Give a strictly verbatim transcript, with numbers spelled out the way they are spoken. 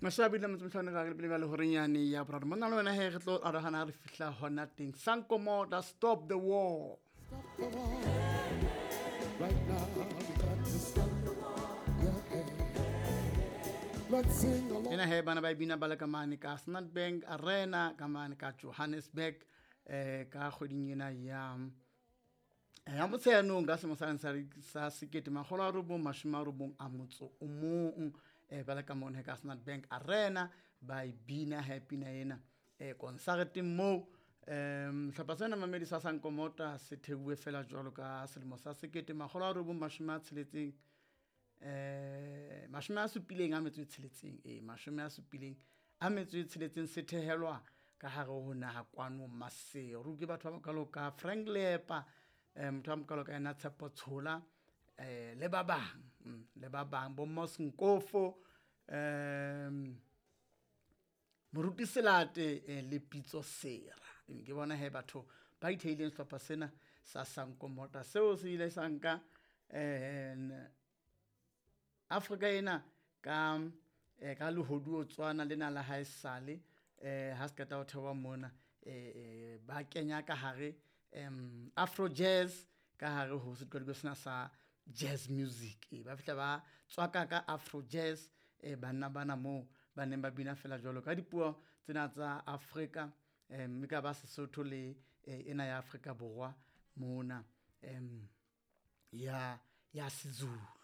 Mashabi le motse mhlano ka le le horenyane ya boraro. Monna le wena he re tlo arohana re fihla hona teng. Sankomota, stop the war. Stop the war. Right now we got to stop the war. Yeah. Let's sing along. Ena he bana ba bina ba le ka mane ka Standard Bank Arena ka mane ka Johannesburg eh ka kgweding ena ya ya Motsheanong ka selemo sa sa sekete makgolo a robong mashome a robong a motso o mong eh ba le ka mone ka Standard Bank Arena ba e bina he pina ena eh konsareteng moo. Em hlopha sena mamedi sa Sankomota se theuwe fela jwalo ka selemo sa sekete makgolo a robong mashome a tsheletseng eh mashome a supileng a metso e tsheletseng eh mashome a supileng a metso e tsheletseng se thehelwa ka hare ho naha kwano Maseru ke batho ba mokalo ka Frank Leepa eh motho wa mokalo ka yena Tshepo Tshola eh le ba bang le ba bang bo Mos Nkofo em Moruti Selate le Pitso Sera. Ke bona he batho ba itheileng sehlopha sena sa Sankomota seo se ile sa nka eh Afrika ena ka ka lehoduo tswana lena la haesale eh ha se qeta ho thewa mona eh ba kenya ka hare em Afro jazz ka hare ho setkodiko sena sa jazz music e ba fihla ba tswaka ka Afro jazz e banna bana moo ba neng ba bina fela jwalo ka dipuo tsena tsa Afrika mme ka ba Sesotho le ena ya Afrika Borwa mona em ya ya Sizulu.